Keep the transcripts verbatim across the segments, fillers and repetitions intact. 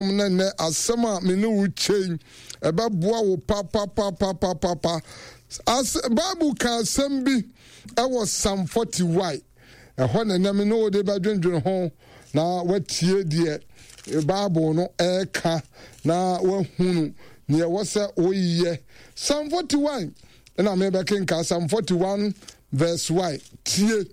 Na nnɛ asɛm a me ne wo kyɛ yi, ɛbɛboa wo papapapapapa. As Bible ka asɛm bi ɛwɔ Psalm forty-one. Ɛhɔ na ɛnɛ me ne wo de bɛdwendwene ho na watie deɛ Bible no ɛreka na wahunu deɛ ɛwɔ sɛ woyɛ. Psalm forty-one na mebɛkenka, Psalm forty-one verse one. Tie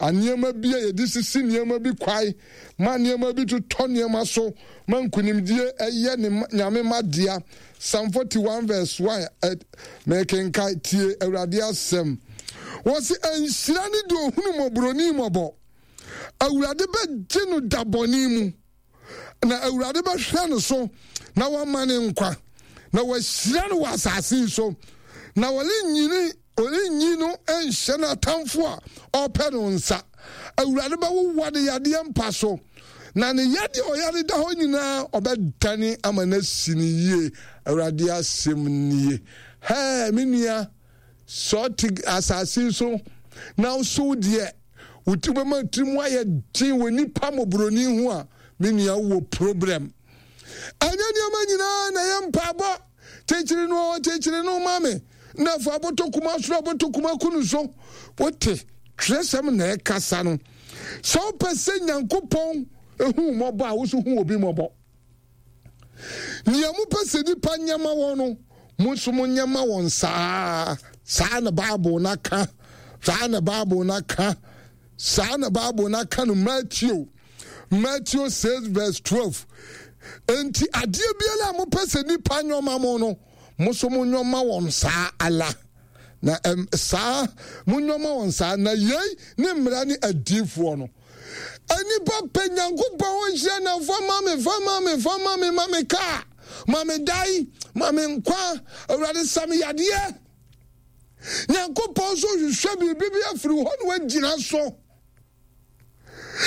nneɛma bi a yɛde sisi nneɛma bi kwae ma nneɛma bi totɔ nneɛma so ma nkunimdie ɛyɛ ne Nyame ma dea. Psalm forty-one verse one, mekenka, tie Awurade asɛm. Wɔsi nhyira ne deɛ ohunu mmɔborɔni mmɔbɔ. Awurade bɛgye no da bɔne mu, na Awurade bɛhwɛ no so na wama ne nkwa, na wahyira no wɔ asase yi so, na wɔrenyini ɔrenyi no nhyɛ n'atamfo a ɔpɛ no nsa. Awurade bɛwowa ne yadeɛ mpa so, na ne yadeɛ a ɔyare da hɔ nyinaa ɔbɛdane ama no asi ne yie. Awurade asɛm nie. Hɛɛ, me nua, sɛ ɔte asase so na wosow deɛ wo ti bɛma tiri mu ayɛ den wɔ nipa mmɔborɔni ho a, me nua, wowɔ problem. Ɛnyɛ nneɛma nyinaa na ɛyɛ mpaebɔ. Kyekyere no, kyekyere no ma me. Na fa abɔtɔ kuma soro, abɔtɔ kuma kunu so. Wote twerɛsɛm na ɛkasa no. Sɛ wopɛ sɛ Nyankopɔn ehu mmɔbɔ a, wo nso hu obi mmɔbɔ. Nea mopɛ sɛ nipa nyɛ ma wɔn no, mo nso monyɛ ma wɔn saa. Saa na Bible no aka. Saa na Bible no aka. Saa na Bible no aka no Matthew. Matthew six verse twelve. Enti adeɛ biara a mopɛ sɛ nipa nyɛ ma mo no, mo nso monyɛ ma wɔn saa ala. Na ɛm saa monyɛ ma wɔn saa. Na yei ne mmara ne adiyifoɔ no. Nnipa pɛ Nyankopɔn ho nhyira na fa ma me, fa ma me, fa ma me, ma me kaa, ma me dan, ma me nkwa, Awurade sa me yadeɛ. Nyankopɔn nso hwehwɛ biribi bi afiri hɔ na wagyina so.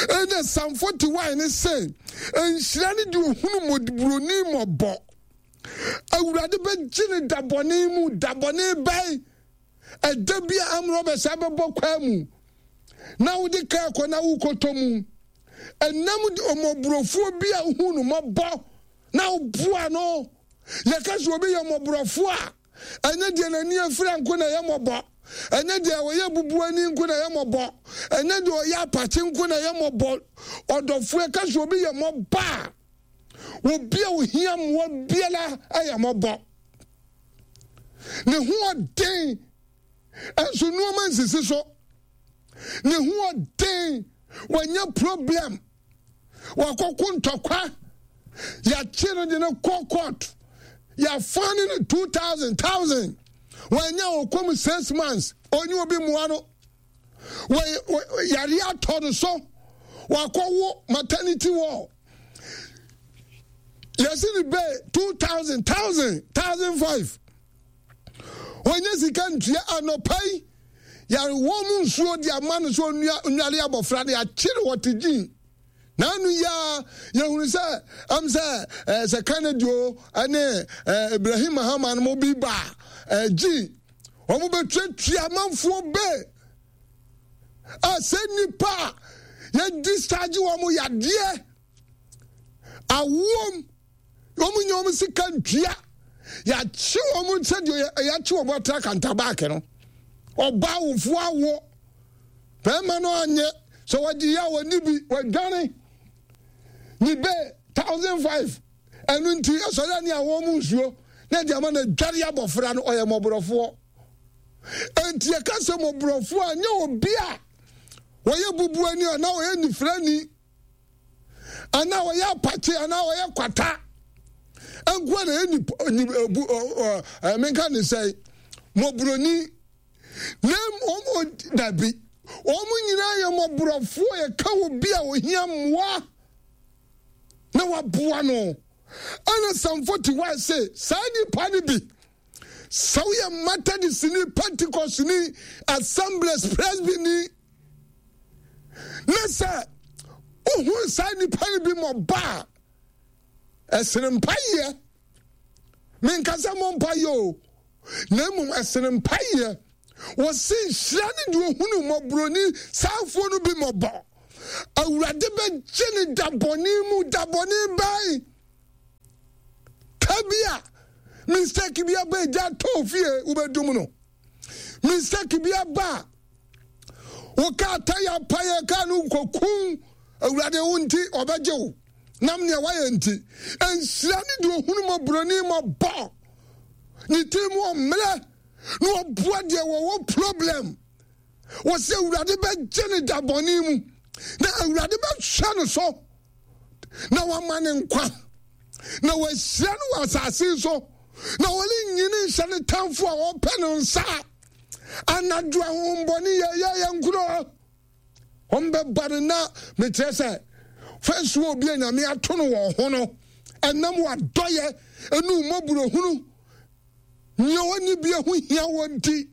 Ɛna Psalm forty-one ne sɛ, nhyira ne deɛ ohunu mmɔborɔni mmɔbɔ. Awurade bɛgye ne da bɔne mu. Da bɔne bɛn? Ɛda bi a amrɔbɛs abɛbɔ kwaa mu na wode kaa kɔ na wokɔtɔ mu. Ɛnam de ɔmmɔborɔfoɔ bi a wohu no mmɔbɔ na woboa no. Yɛka sɛ obi yɛ mmɔborɔfoɔ a, ɛnyɛ deɛ n'ani afira nko na ɛyɛ mmɔbɔ, ɛnyɛ deɛ ɔyɛ bubuani nko na ɛyɛ mmɔbɔ, ɛnyɛ deɛ ɔyɛ apakye nko na ɛyɛ mmɔbɔ. Ɔdɔfoɔ, ɛka sɛ obi yɛ mmɔbɔ a, obi a ohia mmoa biara ɛyɛ mmɔbɔ. Ne ho ɔden nso nneɛma nsisi so. Ne ho ɔden, wanya problem, wakɔko ntɔkwa, yɛakye no de no kɔ court, yɛafa ne no two thousand thousand, wanya ɔkɔm six months, onye obi mmoa no, yare atɔ no so, wakɔwo maternity ward, yɛsi ne bɛɛ two thousand thousand thousand five, wɔnyɛ sika ntua. Anɔpa yi yare wɔn mu nsuo de ama no so onua onware abɔfra de akyere wɔte gyin n'anu yaa. Yɛhunu sɛ ɛm sɛ ɛɛ sɛ Kennedy o ɛne ɛɛ Ibrahim Mahama no mo bi ba ɛɛ gyin wɔn bɛtuatua amanfoɔ bɛɛ a sɛ nipa a yɛ discharge wɔn yadeɛ awoom, wɔn nyɛ wɔn sika ntua, yɛakye wɔn sɛdeɛ yɛakye wɔn atra kantabaake no. Ɔbaa awofoɔ awo bɛrima no anyɛ sɛ wɔgye yɛ a wɔni bi wɔadwane ne bɛ thousand five. Ɛno nti ɛsɔre ne a wɔn mu nsuo na ɛde ama no adware abɔfra no. Ɔyɛ mmɔborɔfoɔ. Enti yɛka sɛ mmɔborɔfoɔ a, nyɛ obi a wɔyɛ bubuani anaa wɔyɛ nifirani anaa wɔyɛ apakye anaa wɔyɛ kwata nkoa na ɛyɛ nipa bu ɔ menka ne sɛ mmɔborɔni, na wɔn dabi, wɔn nyinaa yɛ mmɔborɔfoɔ. Yɛka obi a ohia mmoa na waboa no. Ɛna Psalm forty-one sɛ saa nipa no bi, sɛ woyɛ Methodist ni, Pentecost ni, Assemblies, Presby ni, na sɛ wohu saa nipa no bi mmɔbɔ a, ɛsene mpayɛ. Menkasa mmɔ mpayɛ o, na mmom ɛsene mpayɛ. Wɔsi nhyira ne deɛ ohunu mmɔborɔni saafoɔ no bi mmɔbɔ. Awurade bɛgye ne da bɔne mu. Da bɔne bɛn? bi a mistake bi aba agya tɔɔ fie wobɛdum no. Mistake bi aba a wo kaa taya payɛ kaa no nkɔkum Awurade wo nti ɔbɛgye wo nam nea wayɛ nti. Nhyira ne deɛ ohunu mmɔborɔni mmɔbɔ ne tiri mu ɔmmerɛ na ɔboa deɛ wɔwɔ problem. Wɔsɛ Awurade bɛgye ne da bɔne mu na Awurade bɛhwɛ no so na wama ne nkwa na wahyira no wɔ asase so na wɔrenyini nhyɛ ne tamfo a ɔpɛ no nsa. Anadwo ahohombɔne yɛyɛ yɛn nkuro wɔn bɛba no na mekyerɛ sɛ fɛnsuo obi a Nyame ato no wɔ ho no ɛnam wadɔyɛ ɛnu mmɔborɔhunu nea ɔnni bi ho hia wɔ nti.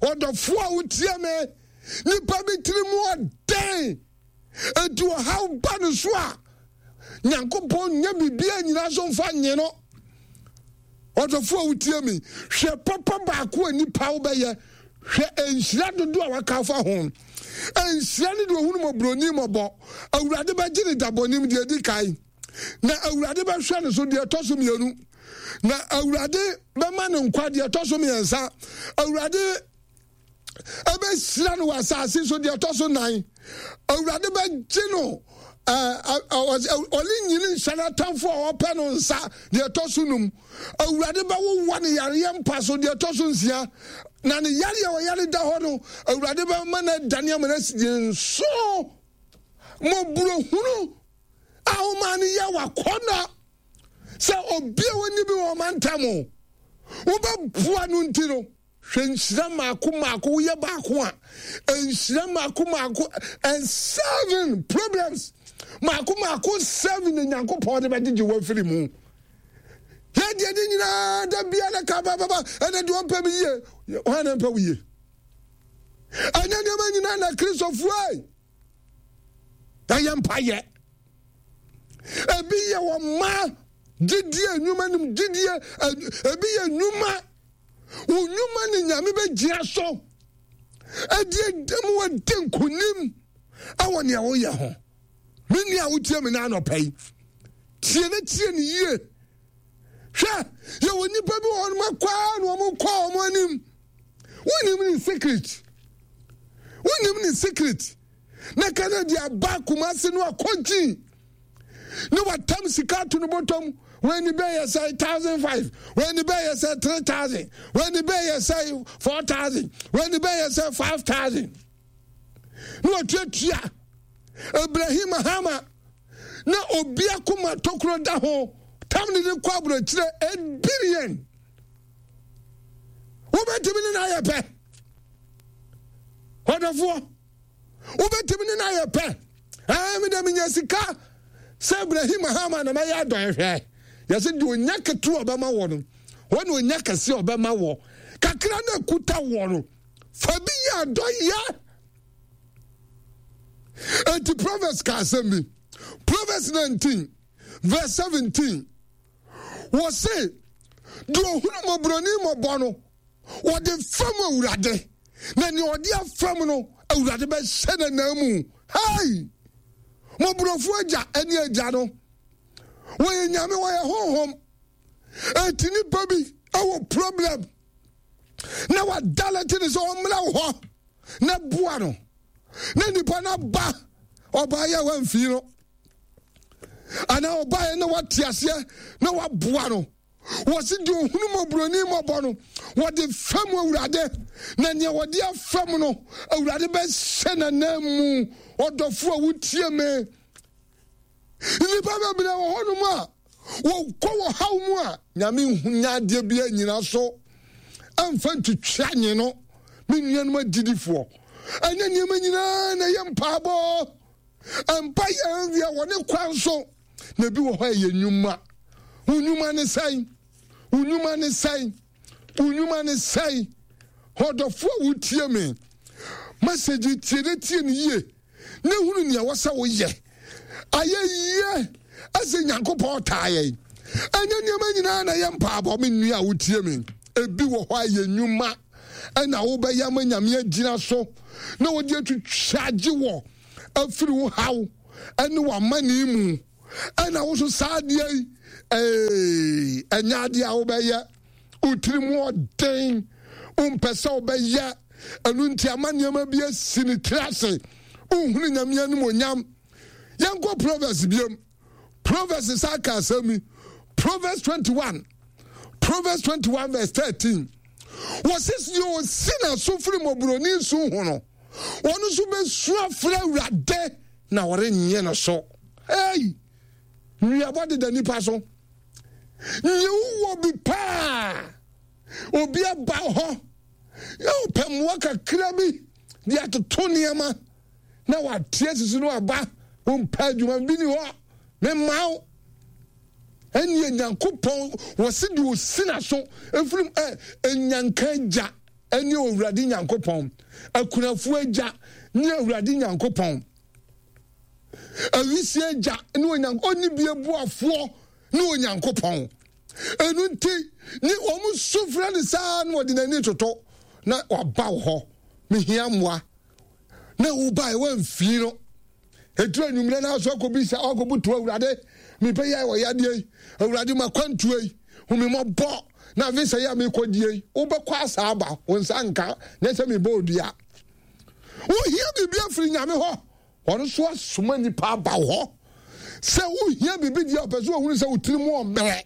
Ɔdɔfoɔ a wotie me, nipa bi tiri mu ɔden enti ɔhaw ba no so a Nyankopɔn nyɛ biribiara nyinaa so mfa nye no. Ɔdɔfoɔ a wotie me, hwɛ papa baako a nipa wobɛyɛ, hwɛ nhyira dodo a waka afa ho. Nhyira ne deɛ ohunu mmɔborɔni mmɔbɔ. Awurade bɛgye ne dabɔnem deɛ edi kan, na Awurade bɛhwɛ ne so deɛ ɛtɔ so mmienu, na Awurade bɛma ne nkwa deɛ ɛtɔ so mmiɛnsa. Awurade ɛbɛhyira no wɔ asase so deɛ ɛtɔ so nan. Awurade bɛgye no ɔne nyini nhyɛ n'atamfo a ɔpɛ no nsa deɛ ɛtɔ so num. Awurade bɛwowa ne yareɛ mpa so deɛ ɛtɔ so nsia, na ne yareɛ a ɔyare da hɔ no Awurade bɛma no adane ama no asi nso. Mmɔborɔhunu a womaa no yɛ wakɔnɔ sɛ obi a wɔnni bi wɔ ɔmantam wobɛboa no nti no, hwɛ nhyira mmaako mmaako woyɛ baako a nhyira mmaako mmaako and seven problems mmaako mmaako seven na Nyankopɔn de bɛgyegye wo afiri mu. Yɛ deɛ ne nyinaa da biara ka bababa ɛna deɛ ɔmpɛ me yie hwan na mpɛ wo yie? Ɛnyɛ nneɛma nyinaa na Kristofoɔ ɛyɛ mpayɛ. Ebi yɛ wɔn mma gyidie nnwuma nim gyidie, ebi yɛ nnwuma wo nnwuma ne Nyame bɛgyina so ɛdi ɛdam wɔdi nkonim ɛwɔ nea woyɛ ho. Me nua a wotie me no anɔpa yi, tie ne tie ne yie. Hwɛ, yɛwɔ nnipa bi wɔ hɔ nom akɔa na wɔn kɔ wɔn anim. Wonim ne secret, wonim ne secret. Na ka no de aba Kumase no akɔgyi ne watam sika ato no bɔtɔm. Wɔn ani bɛyɛ sɛ thousand five, wɔn ani bɛyɛ sɛ three thousand, wɔn ani bɛyɛ sɛ four thousand, wɔn ani bɛyɛ sɛ five thousand. Na watuatua Ibrahim Mahama na obi akoma tokuro da ho tam ne de kɔ aburokyerɛ eight billion. Wobɛtumi ne no ayɛ pɛ, ɔdɔfoɔ. Wobɛtumi ne no ayɛ pɛ. Ɛɛ me dɛ menya sika sɛ Ibrahim Mahama na mɛyɛ adɔe. Hwɛ, yɛsɛ deɛ onya ketewa ɔbɛma wɔ no, wɔn na onya kɛseɛ ɔbɛma wɔ. Kakra na kuta wɔ no, fa bi yɛ adɔyɛ. Enti Proverbs ka asɛm bi. Proverbs nineteen verse seventeen. Wɔse deɛ ohunu mmɔborɔni mmɔbɔ no, wɔde fam Awurade, na nea ɔde afam no, Awurade bɛhyɛ n'anan mu. Hei! Mmɔborɔfoɔ agya ne agya no, wɔyɛ Nyame, wɔyɛ honhom. Enti nipa bi wɔ problem na wadalɛte ne sɛ ɔmmra wo hɔ na boa no, na nipa no aba, ɔbaayɛ a wamfii no, anaa ɔbaayɛ na wate aseɛ na waboa no. Wɔsi deɛ ohunu mmɔborɔni mmɔbɔ no, wɔde fam Awurade, na nea wɔde afam no, Awurade bɛhyɛ n'anan mu. Ɔdɔfo a wotie me, nnipa bebree wɔ hɔnom a wɔkɔ wɔ haw mu a Nyame nya adeɛ bi anyina so ɛmfa ntwitwa nye no. Me nuanom agyidifoɔ, ɛnyɛ nneɛma nyinaa na ɛyɛ mpaebɔ. Mpa yɛn deɛ wɔ ne kwan so, na ebi wɔ hɔ a ɛyɛ nnwuma. Wo nnwuma ne sɛn? Wo nnwuma ne sɛn? Wo nnwuma ne sɛn? Ɔdɔfo a wotie me, message tie ne tie ne yie ne hunu nea ɛwɔ sɛ woyɛ. Ayɛ yie ɛsɛ Nyankopɔn taa yɛn. Ɛnyɛ nneɛma nyinaa na ɛyɛ mpaabɔ. Me nua a wotie me, ebi wɔ hɔ a ɛyɛ nnwuma ɛna wobɛyɛ ama Nyame agyina so na wɔde atwitwa agye wɔ afiri wo haw ɛne w'amane mu. Ɛna wo so saa adeɛ yi, ee, ɛnyɛ adeɛ a wobɛyɛ. Wo tiri mu ɔden, wompɛ sɛ wobɛyɛ. Ɛno nti ama nneɛma bi asi ne tiri ase. Wohunu Nyame animuonyam. Yɛnkɔ Proverbs biom. Proverbs sa ka asɛm yi. Proverbs twenty-one. Proverbs twenty-one verse thirteen. Wɔsi deɛ ɔsi n'aso firi mmɔborɔni su ho no, wɔn nso bɛsu afrɛ Awurade na wɔrennye no so. Hey! Nnuabɔ deda nipa so. Nye wowɔ bi paa. Obi aba hɔ. Na ɔpɛ mmoa kakra bi de atoto nneɛma na wate asisi no aba. Wompɛ adwuma bi ni hɔ. Memma wo. Ɛnneɛ Nyankopɔn wɔsi deɛ ɔsi n'aso ɛfiri ɛ ɛnyanka agya ɛne Owurade Nyankopɔn, akunafoɔ agya ne Awurade Nyankopɔn, awisia agya ne Onyankopɔn, ɔnni bie boafoɔ ne Onyankopɔn. Ɛno nti ne wɔn su frɛ no saa na wɔde n'ani toto na waba wo hɔ, mehia mmoa, na wobae woamfii no. Ɛduru anwummerɛ no aso akɔbisa akɔbutu Awurade, mepɛ yɛ wɔ yadeɛ yi, Awurade makwantuo yi, hu me mmɔbɔ, na visa yi a mekɔdie yi, wobɛkɔ asa aba, wo nsa nka, nyɛ sɛ mebɔ odua. Wohia biribi afiri Nyame hɔ, ɔno nso asoma nnipa aba wo hɔ. Sɛ wohia biribi deɛ ɔpɛ sɛ ɔhunu sɛ wo tiri mu ɔmmerɛ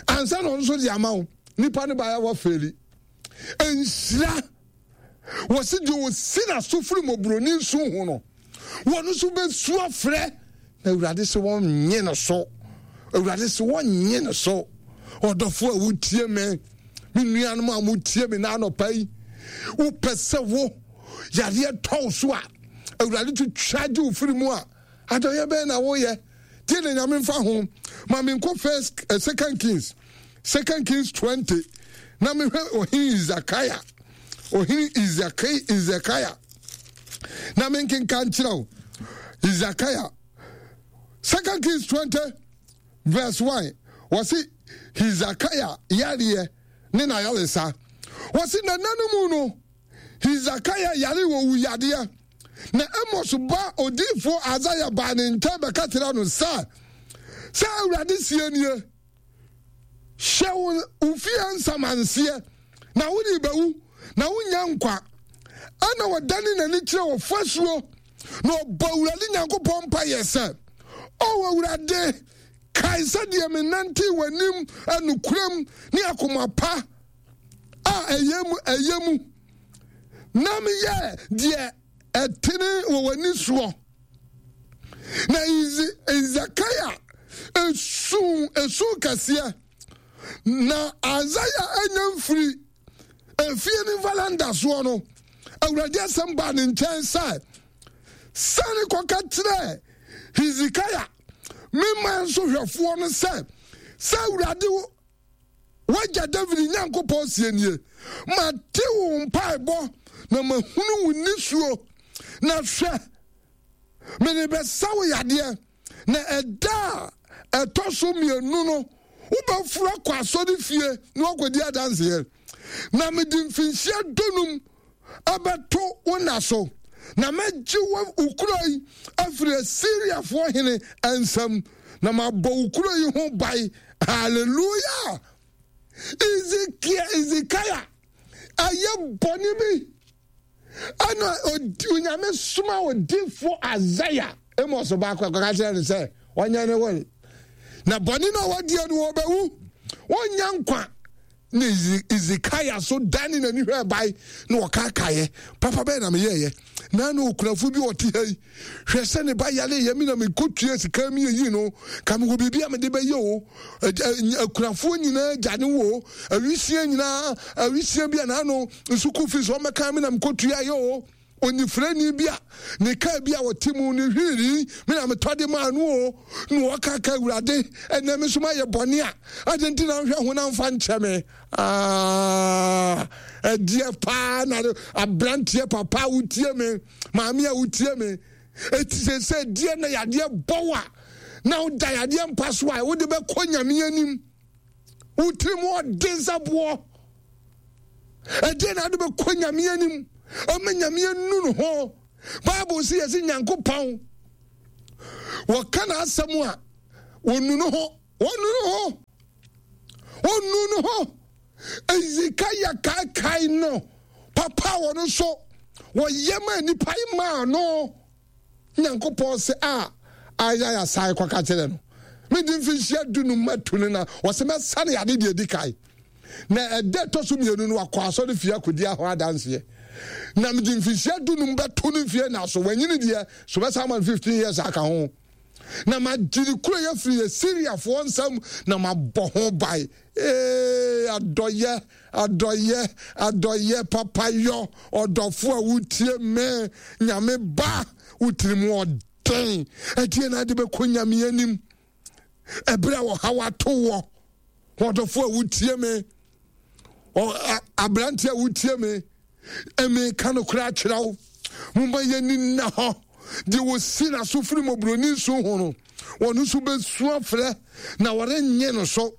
ansa na ɔno nso de ama wo. Nnipa no baeɛ wɔfeeli. Nhyira wɔsi deɛ ɔsi n'aso firi mmɔborɔni nsu ho no, wɔn nso bɛsu afrɛ na Awurade sɛ wɔnnye no so. Awurade sɛ wɔnnye no so. Ɔdɔfo a wotie me, me nuanom a motie me na anɔpa yi, wopɛ sɛ wo yadeɛ tɔw so a Awurade twitwa gye wo firi mu a, adɔyɛ bɛn na woyɛ? Tie na Nyame mfa ho. Ma menkɔ first, uh, Second Kings, Second Kings twenty, na mehwɛ ɔhene Hezekiah, ɔhene Hezekiah, na menkenka nkyerɛ wo. Hezekiah, Second Kings twenty verse one, wɔse Hezekiah yareɛ ne n'ayaresa. Wɔse na nna no mu no, Hezekiah yare wɔ wuyadeɛ. Na Amos ba odiyifoɔ Asaia baa ne nkyɛn bɛka kyerɛɛ no sɛ, Sɛ Awurade seɛ nie, hyɛ wo fie nsamanseɛ, na wode bɛwu, na wonnya nkwa. Ɛnna ɔdane n'ani kyerɛɛ ɔfasuo, na ɔbɔ Awurade Nyankopɔn mpaeɛ sɛ, O Awurade, kae sɛdeɛ menantee w'anim nokorɛm ne akoma pa a ɛyɛ mu ɛyɛ mu, na meyɛɛ deɛ ɛtene wɔ w'ani soɔ. Na Hesekia esu esu kɛseɛ, na Isaiah anya mfiri efie ne valanda soɔ no, Awurade asɛm baa ne nkyɛn sɛ, sane kɔka kyerɛ Hesekia me man so hwɛfoɔ no sɛ, sɛ Awurade wagya David Nyankopɔn sie nie, mate wo mpaebɔ na mahunu wo nisuo, na hwɛ, mede bɛsa wo yadeɛ, na ɛda a ɛtɔ so mmienu no wobɛforo akɔ asɔre fie na wakɔdi adanseɛ, na mede mfinhyia dunum abɛto wo nna so, na mɛgye wo kuro yi afiri Asiriafoɔ hene nsam, na mabɔ wo kuro yi ho ban. Hallelujah! Ezekiel, Ezekiah ayɛ bɔne bi, ɛna Onyame soma odifoɔ Isaiah Amos baako akɔka kyerɛ no sɛ ɔnyɛ ne wɔn na bɔne no a wɔdeɛ no wɔbɛwu, wɔnyɛ nkwa. Na Ezekiah so dane n'ani hwɛ bae na ɔkaakaeɛ, papa bɛyɛ na meyɛɛyɛ na na okunafo bi ɔte ha yi, hwɛ sɛ ne ba yare yɛ me na mekɔtua sika mi yɛyi no, ka mewɔ biribi a mede bɛyɛ o. Akunafoɔ nyinaa gya ne wo, awisia nyinaa, awisia bi a naano sukuu fees ɔmmɛka me na mekɔtua yɛ o. Onifirani bi a ne kaa bi a ɔte mu ne hwiiri me na metɔ de maa no o. Na ɔka ka Awurade, ɛnɛ me nso mayɛ bɔne a, adɛn nti na nhwɛ ho na mfa nkyɛ me? Ah, ɛdeɛ paa na aberanteɛ papa a wotie me, maame a wotie me, ɛti sɛ sɛ deɛ na yadeɛ bɔw a na woda yadeɛ mpa so a wode bɛkɔ Nyame anim, wo tirim ɔden sɛ boɔ. Ɛdeɛ na wode bɛkɔ Nyame anim ama Nyame anu no ho. Bible sɛ yɛsɛ Nyankopɔn Wɔka n'asɛm a, wɔnu no ho, wɔnu no ho, wɔnu no ho. Hesekiah kaakae no papa a wɔno nso wɔyɛ ma nnipa yi maa no. Nyankopɔn sɛ a Isaiah san kɔka kyerɛ no, mede mfinhyia dunum matu no na wɔsɛ mɛsane ade deɛ ɛdi kan. Na ɛda ɛtɔ so mmienu no wakɔ asɔre fie akɔdi ho adanseɛ. Na mede mfinhyia dunum bɛto no mfie na so wanyini deɛ so bɛsan ma no fifteen years aka ho. Na magye ne kuro yɛ firi Asiriafoɔ nsam na mabɔ ho ban. Ee, adɔyɛ, adɔyɛ, adɔyɛ, papayɔ, ɔdɔfo a wotie me, Nyame ba, wo tirim ɔden. Ɛdeɛ na ade bɛkɔ Nyame anim ɛberɛ a ɔhaw ato wɔ. Ɔdɔfo a wotie me, aberante a wotie me, ɛmeka no koraa kyerɛ wo. Momma yɛni nna hɔ. Deɛ wɔsi n'aso firi mmɔborɔni nsu ho no, wɔn nso bɛsu afrɛ na wɔrennye no so.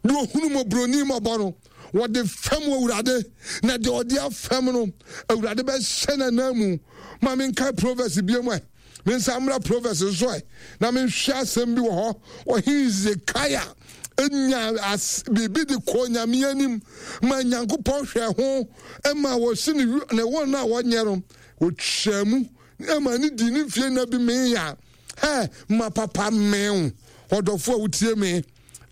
Deɛ ɔhunu mmɔborɔni mmɔbɔ no, wɔde fam Awurade, na deɛ ɔde afam no, Awurade bɛhyɛ n'ananmu. Ma menkae Proverbs bio mu ɛ. Mensan mmra Proverbs nso ɛ, na menhwɛ asɛm bi wɔ hɔ. Ɔhene Hesekiah nya biribi de kɔɔ Nyame anim ma Nyankopɔn hwɛ ho ma wɔsi ne ne wɔn a wɔnyɛ no wɔtwaa mu ma ne di ne mfie nna bi mee a hɛ ma papa mew ɔdɔfo a wotie me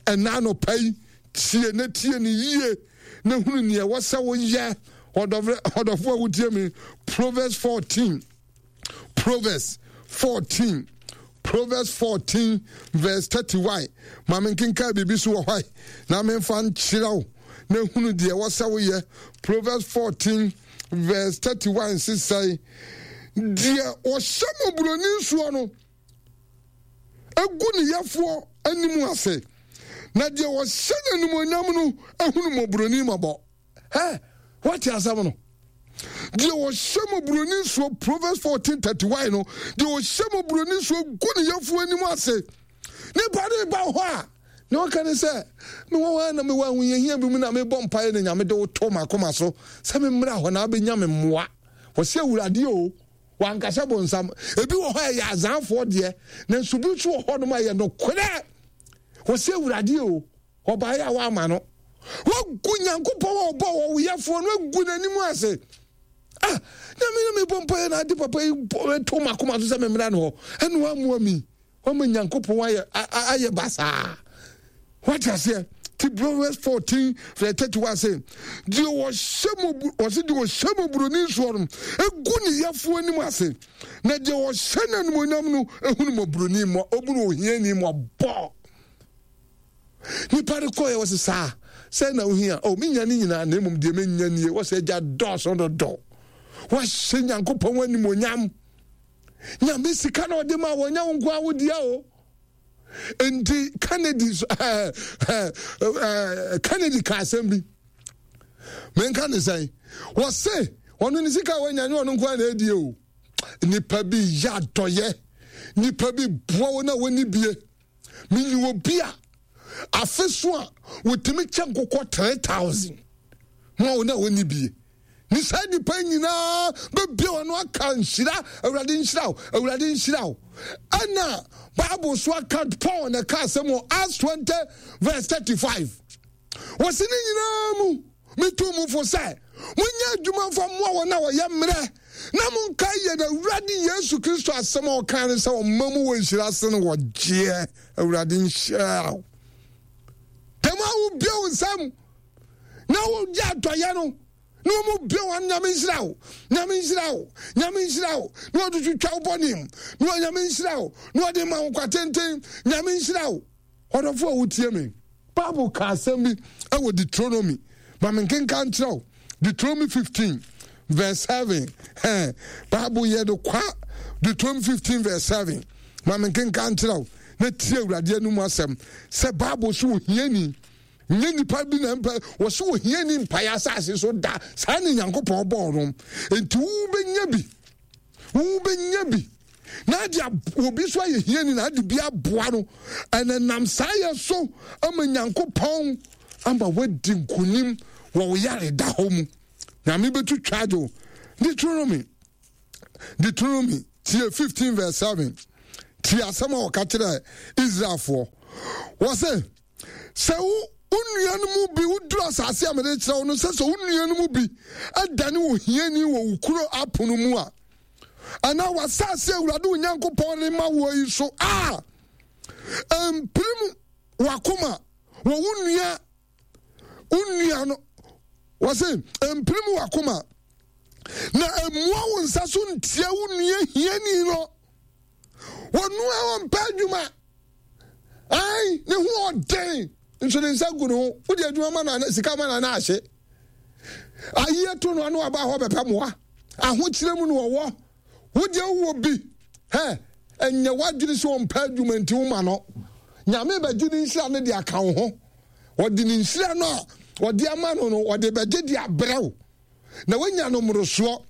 ɛna anɔpa yi tie na tie ne yie na hunu nea ɛwɔ sɛ woyɛ ɔdɔfo a wotie me. Proverbs fourteen, Proverbs fourteen, Proverbs fourteen verse thirty-one. Ma menkenkan biribi so wɔ hɔ na memfa nkyerɛ wo na hunu deɛ ɛwɔ sɛ woyɛ. Proverbs fourteen verse thirty-one sesɛe deɛ ɔhyɛ mmɔborɔni nsoɔ no egu ne yɛfoɔ anim ase, na deɛ ɔhyɛ n'animuonyam no ehunu mmɔborɔni mmɔbɔ. Hɛ, wate asɛm no? Deɛ ɔhyɛ mmɔborɔni nsoɔ, Proverbs fourteen thirty-one no, deɛ ɔhyɛ mmɔborɔni nsoɔ gu ne yɛfoɔ anim ase. Nipa ne ba hɔ a, na ɔka ne sɛ, mewɔ hɔ a na mewɔ ahohiahia bi mu na mebɔ mpaeɛ na Nyame de wo to m'akoma so sɛ memmra hɔ na abɛnya me mmoa. Wɔsɛ Awurade o, wankasa bonsam. Ebi wɔ hɔ a ɛyɛ azanfoɔ deɛ, nanso bi nso wɔ hɔ nom a ɛyɛ nokorɛ. Wɔsɛ Awurade o, ɔbaeɛ a wama no. Wagu Nyankopɔn a ɔbɔ wɔ woyɛfoɔ no agu n'anim ase. Ah, Nyame na mebɔ mpaeɛ na ade papa yi to m'akoma so sɛ memmra no hɔ, ɛna wammoa mi. Wama Nyankopɔn ayɛ ayɛ basaa. Wate aseɛ? Ti Proverbs fourteen verse thirty-one sɛ, deɛ ɔhyɛ mo ɔsɛ deɛ ɔhyɛ mo buroni nsoɔ no egu ne yɛfoɔ anim ase, na deɛ ɔhyɛ n'animuonyam no ehunu mo buroni mo obunu ohiani mo bɔ. Nipa de kɔɛ wɔ sɛ saa sɛ na ohia o menya ne nyinaa na mmom deɛ menya nie wɔ sɛ agya dɔɔso dodɔ. Wahyɛ Nyankopɔn animuonyam. Nyame sika na ɔde ma wɔnyɛ wo nko awodeɛ o. Nti Kennedy eh, eh, eh, Kennedy ka asɛm bi. Menka ne sɛn. Wɔse ɔno ne sika a wanya nyɛ ɔno nko a na ɛdie o. Nipa bi yɛ adɔyɛ. Nipa bi boa wo na wɔni bie. Menyi obi a afe so a wɔtumi kyɛ nkokɔ three thousand ma wɔn a wɔni bie. Ne saa nnipa nyinaa bɛbia wɔn ano aka nhyira, Awurade nhyira wo, Awurade nhyira wo. Ɛna Bible so aka Paul na ɛka asɛm wɔ Acts twenty verse thirty-five. Wɔsi ne nyinaa mu metu mu fo sɛ monyɛ adwuma mfa mmoa wɔn a wɔyɛ mmerɛ na monkae yɛn Awurade Yesu Kristo asɛm a ɔkaa ne sɛ ɔma mu wɔ nhyira ase no wɔgyeɛ. Awurade nhyira wo. Dɛm a wobia wo nsam na wogye adɔyɛ no na wɔn bia wɔn Nyame nhyira wo, Nyame nhyira wo, Nyame nhyira wo, na wɔde twitwa wo bɔne mu na wɔn Nyame nhyira wo na wɔde ma wo nkwa tenten, Nyame nhyira wo. Ɔdɔfo a wotie me, Bible ka asɛm bi ɛwɔ Deuteronomy, ma me nkenka nkyerɛ wo. Deuteronomy fifteen verse seven. Hɛn Bible yɛ no kwa. Deuteronomy fifteen verse seven. Ma me nkenka nkyerɛ wo na tie Awurade anum asɛm sɛ Bible so ohiani nyɛ nipa bi na mpa wɔso ohiani mpaeɛ asase so da saa ne Nyankopɔn bɔɔ no. Enti wobɛnya bi, wobɛnya bi na ade obi so ayɛ hiani na ade bi aboa no, ɛna nam saa yɛ so ama Nyankopɔn ama wadi nkonim wɔ wo yare da hɔ mu. Nyame bɛtu twa adwo. Deuteronomy, Deuteronomy Tie fifteen verse seven. Tie asɛm a wɔka kyerɛ Israelfoɔ. Wɔse, sɛ wo wo nua no mu bi woduru asase a mede kyerɛ wo no sɛ sɛ wo nua no mu bi adane ohiani wɔ wo kuro apono mu a, anaa w'asase a Awurade wo Nyankopɔn de ma woɔ yi so a, mpirim w'akoma wɔ wo nua wo nua no wɔse mpirim w'akoma na mmua wo nsa so ntia wo nua hiani no. Wɔnua wɔmpɛ adwuma, ai ne ho ɔden nso ne nsa gu ne ho. Wode adwuma ma na sika ma na na ahye ayie to no ano aba hɔ bɛpɛ mmoa. Ahokyerɛ mu no wɔwɔ wodeɛ wowɔ bi hɛ ɛnyɛ w'adwene sɛ ɔmpɛ adwuma nti woma no. Nyame bɛgye ne nhyira no de aka wo ho. Ɔde ne nhyira no a ɔde ama no no ɔde bɛgye de abrɛ wo na woanya no mmorosoɔ.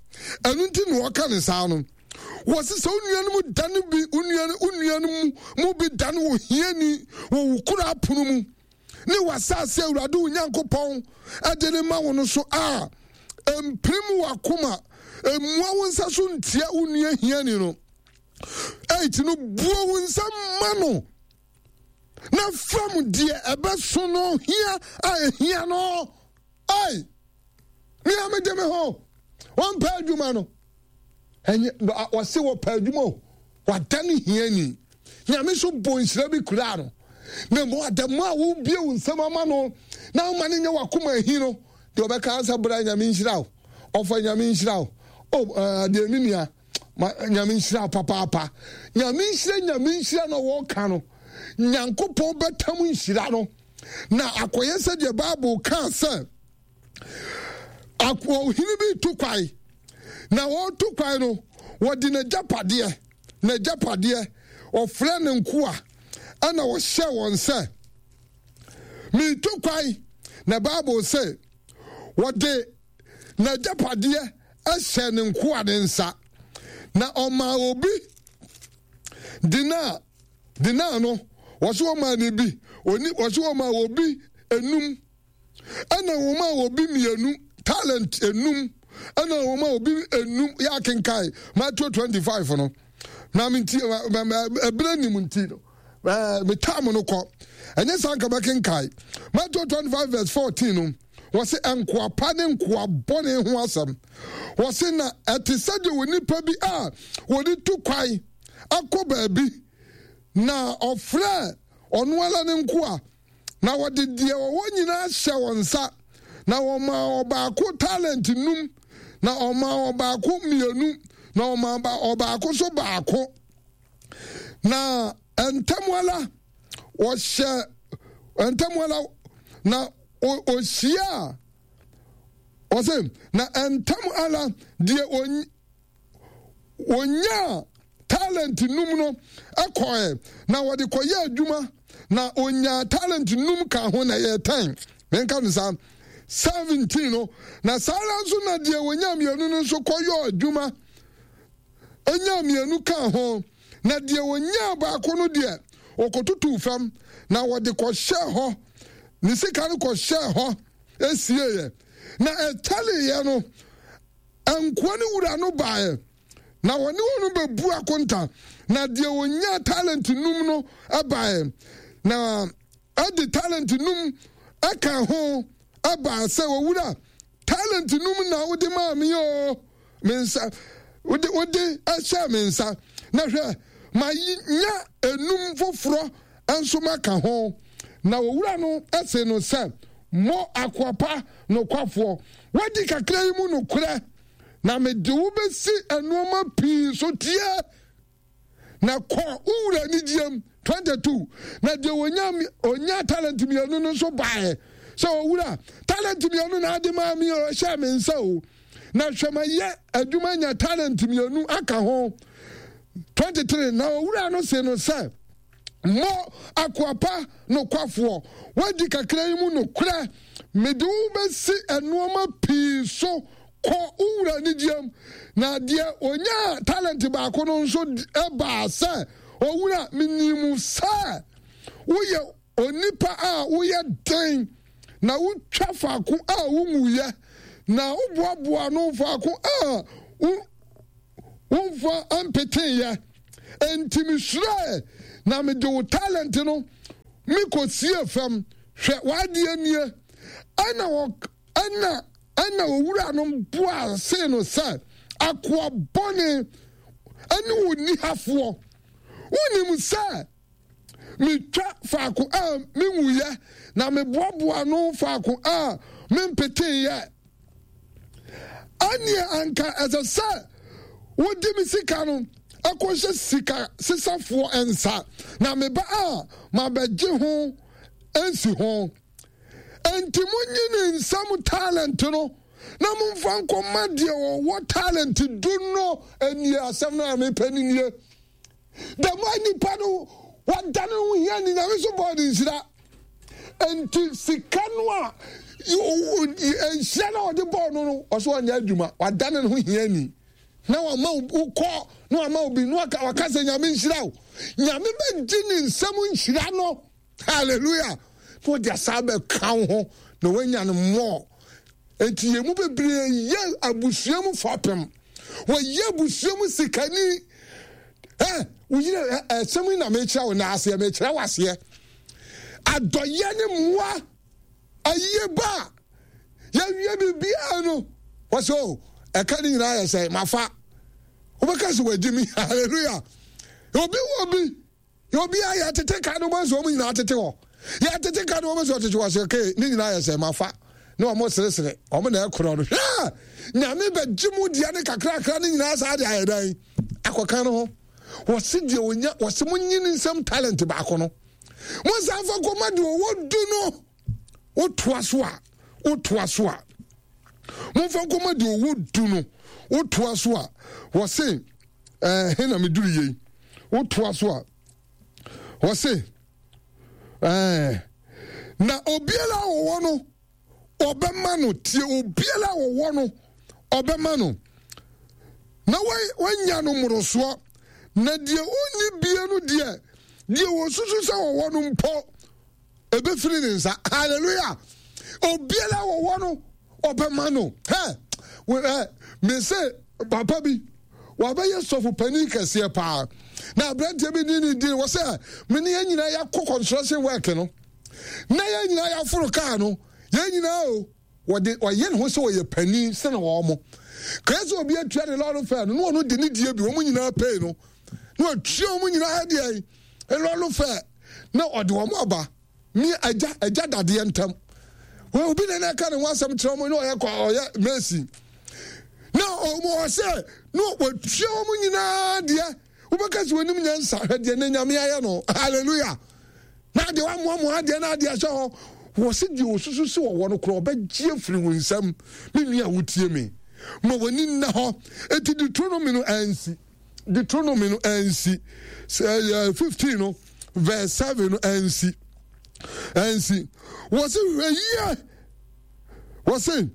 Ɛno nti na ɔka ne saa no. Wɔse sɛ wo nua no mu dane bi wo nua wo nua no mu mu bi dane wɔ hiani wɔ wo kuro apono mu ne w'asase Awurade wo Nyankopɔn ɛde ne ma wo no so a, mpirim w'akoma mmua wo nsa so ntia wo nua hiani no. Eight no, buo wo nsa ma no na fam deɛ ɛbɛso no hia a ehia no. Ai, me a mede me ho wɔmpɛ adwuma no ɛnyɛ wɔse wɔpɛ adwuma o, wadane hiani. Nyame so bɔ nhyira bi kuraa no na mmom adamu a wobie wo nsɛm ama no na woma no nyɛ wakoma ahi no deɛ ɔbɛka sɛ bra Nyame nhyira wo, ɔfa Nyame nhyira wo o, deɛ me nua Nyame nhyira wo papaapa. Nyame nhyira Nyame nhyira na wɔka no, Nyankopɔn bɛtam nhyira no na akɔyɛ sɛ deɛ Bible kaa sɛ ɔhene bi tu kwae na wɔretu kwae no wɔde n'agyapadeɛ n'agyapadeɛ ɔfrɛ ne nkoa ɛna ɔhyɛ wɔn sɛ meretu kwae na Bible sɛ wɔde n'agyapadeɛ hyɛ ne nkoa ne nsa na ɔmaa obi dina dina no wɔso wɔmaa ne bi oni wɔso wɔmaa obi enum ɛna wɔmaa obi mmienu talent enum ɛna wɔmaa obi enum yɛ akenkan Matthew twenty five no na me nti ɛbere nim nti no ɛɛ me tam no kɔ ɛnyɛ saa nka bɛkenkan Matthew twenty five verse fourteen no wɔsi nkoa pa ne nkoa bɔne ho asɛm. Wɔsi na ɛte sɛ deɛ onipa bi a wɔde tu kwan akɔ baabi na ɔfrɛ ɔno ara ne nkoa na wɔde deɛ wɔwɔ nyinaa hyɛ wɔn nsa na wɔmaa ɔbaako talent num na ɔmaa ɔbaako mmienu na ɔmaa ɔbaako so baako na ntɛm ara wɔhyɛ ntɛm ara na ɔhyia ɔsɛ na ntɛm ara deɛ ɔnyaa talent num no kɔɛ na wɔde kɔyɛ adwuma na ɔnyaa talent num ka ho na ɛyɛ ten menka no saa seventeen no na saa ara nso na deɛ ɔnyaa mmienu no nso kɔyɛ adwuma ɛnyaa mmienu ka ho na deɛ ɔnyaa baako no deɛ ɔkɔtutuu fam na wɔde kɔhyɛ hɔ ne sika no kɔhyɛ hɔ esieɛ na ɛkyɛleeɛ no nkoa no wura no baeɛ na wɔne wɔn bɛbu akonta na deɛ ɔnyaa talent num no baeɛ na ɛde talent num ɛka ho ɛbaa sɛ owura talent num na wode maa me o me nsa wode wode ɛhyɛ me nsa na hwɛ ma nya enum foforɔ nso maka ho na owura no ɛse no sɛ mo akoa pa nokwafoɔ wadi kakra yi mu nokorɛ na mede wo bɛsi nneɛma pii so tie na kɔ wo wura anigyeɛm twenty two na deɛ onya onya talent mmienu no nso baeɛ sɛ owura talent mmienu na ade maa mi o ɛhyɛ me nsa o na hwɛ ma yɛ adwuma nya talent mmienu aka ho twenty three na owura no se no sɛ mo akoa pa nokwafoɔ wadi kakra yi mu nokorɛ mede wo bɛsi nneɛma pii so kɔ wo wura anigyeɛm na deɛ onyaa talent baako no nso baa sɛ owura menim sɛ woyɛ onipa a woyɛ den na wotwa faako a wonwuyɛ na woboaboa no faako a Womfa mpeteeɛ. Enti mesuroe, na mede wo talent no mekɔsiee fam. Hwɛ, w'adeɛ nie. Ɛnna wɔ ɛnna ɛnna owura no buaa see no sɛ, Akoa bɔne ne onihafoɔ, wonim sɛ metwa faako a menwuiɛ, na meboaboa ano faako a mempeteeɛ. Ɛnneɛ anka ɛsɛ sɛ wode me sika no kɔhyɛ sika sesafoɔ nsa, na meba a mabɛgye ho nsi ho. Enti monyi ne nsam talent no na momfa nkɔma deɛ ɔwɔ talent du no. Ɛnie asɛm no a mepɛ no nie. Dɛm a nipa no wadane ho hia ne Nyame so bɔɔ ne nhyira. Enti sika no a nhyira no a ɔde bɔɔ no no ɔso ɔnyɛ adwuma wadane ne ho hiani na wama wokɔ na wama obi na waka waka sɛ Nyame nhyira wo. Nyame bɛgye ne nsam nhyira no. Hallelujah. Na ɔde asa bɛka wo ho na wanya no mmɔɔ. Enti yɛn mu bebree yɛ abusua mu fapem. Wɔyɛ abusua mu sikani. Ɛ woyere ɛsɛm yi na mekyerɛ wo na aseɛ mekyerɛ wo aseɛ. Adɔyɛ ne mmoa ayie ba a yɛwie biribiara no wɔsɛ o ɛka ne nyinaa yɛ sɛ mafa. Wobɛka sɛ wagye mi. Hallelujah. Obi wɔ bi obiara yɛtete ka no wɔn sɛ wɔn nyinaa tete hɔ yɛtete ka no wɔn sɛ ɔtete hɔ sɛ okay ne nyinaa yɛ sɛ mafa na wɔn seresere wɔn na ɛkorɔ no hwɛ Nyame bɛgye mu deɛ ne kakrakra ne nyinaa saa de ayɛ dan akɔka no ho wɔsi deɛ onya wɔsi mo nyi ne nsam talent baako no mo nsa nfa kɔma deɛ ɔwɔ du no wotoa so a wotoa so a momfa nkɔma deɛ ɔwɔ du no wotoa so a wɔse ɛɛ he na meduru yei wotoa so a wɔse ɛɛ na obiara a ɔwɔ no ɔbɛma no tie obiara a ɔwɔ no ɔbɛma no na wanya no mmorosoɔ na deɛ ɔnni bie no deɛ deɛ wɔsusu sɛ ɔwɔ no mpo ɛbɛfiri ne nsa. Hallelujah. Obiara a ɔwɔ no ɔbɛma no. Hɛ ɛ mese papa bi wabɛyɛ sɔfo panin kɛseɛ paa na aberanteɛ bi ne ne di wɔ sɛ me ne yɛn nyinaa yɛakɔ construction work no na yɛn nyinaa yɛaforo kaa no yɛn nyinaa o wɔde ɔyɛ ne ho sɛ ɔyɛ panin sene wɔn mo kɛɛ sɛ obi atua ne lɔre fɛ no na ɔno de ne die bi wɔn nyinaa pay no na watua wɔn nyinaa deɛ lɔre fɛ na ɔde wɔn aba mi agya agya dadeɛ ntam obi na na ɛka ne ho asɛm kyerɛ wɔn na ɔyɛ kɔ ɔyɛ mɛsi na wɔn ɔsɛ na watua wɔn nyinaa deɛ wobɛka sɛ wɔnim nyansa hwɛ deɛ ne Nyame ayɛ no. Hallelujah. Na deɛ wamoamoa adeɛ na adeɛ ahyɛ hɔ wɔ se deɛ ɔsusu sɛ ɔwɔ no korɔ ɔbɛgye afiri wo nsam. Me nua a wotie me, ma w'ani nna hɔ. Enti Deuteronomy no ansi Deuteronomy no ansi sɛ fifteen no verse seven no ansi ansi wɔ se hwɛ yie wɔ se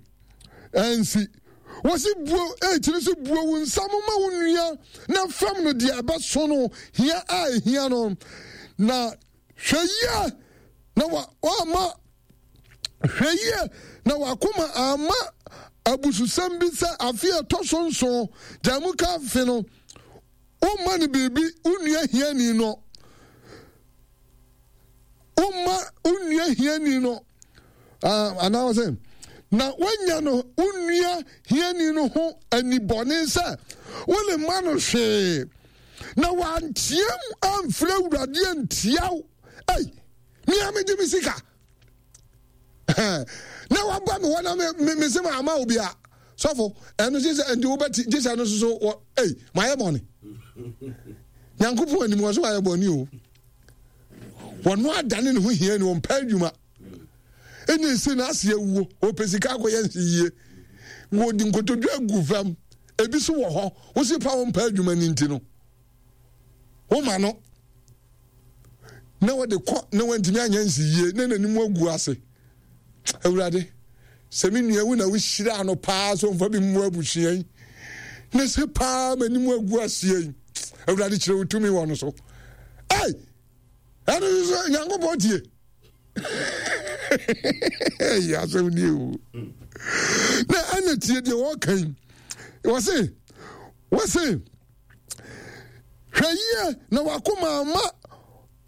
ansi wɔsi buo ɛkyiri so buo wo nsa mo ma wo nua na fam no deɛ ɛbɛso no hia a ehia no na hwɛ yie na wa wama hwɛ yie na wakoma ama abususɛm bi sɛ afe a ɛtɔ so nson gya mu ka afe no womma no biribi wo nua hiani no womma wo nua hiani no anaa sɛ na woanya no wo nua hiani no ho anibɔne sɛ wone ma no hwee na wanteam amfrɛ Awurade antia wo. Ei, mea megye me sika na waba me hɔ na me me se ma ama obi a sɔfo ɛno gye sɛ nti wobɛti gye sɛ ɛno soso wɔ ei mayɛ bɔne. Nyankopɔn anim wɔ so wayɛ bɔne o. Wɔno adane ne ho hia ni wɔmpɛ adwuma. Ɛna ɛsɛ no ase awuo wɔpɛ sika akɔyɛ nse yie wɔde nkotodwe agu fam ebi so wɔ hɔ wosi pa wɔmpɛ adwuma no nti no woma no na wɔde kɔ na wɔntumi anyɛ nse yie na n'anim agu ase. Awurade sɛ me nua wo na wohyira no paa sɛ ɔmfa bi mmoa abusua yi na sɛ paa m'anim agu aseɛ yi Awurade kyerɛ wo tumi wɔ no so. Ei ɛno nso Nyankopɔn tie. Ɛyɛ asɛm nie o. Na ɛna tie deɛ wɔka yi wɔse wɔse Hwɛ yie na w'akoma amma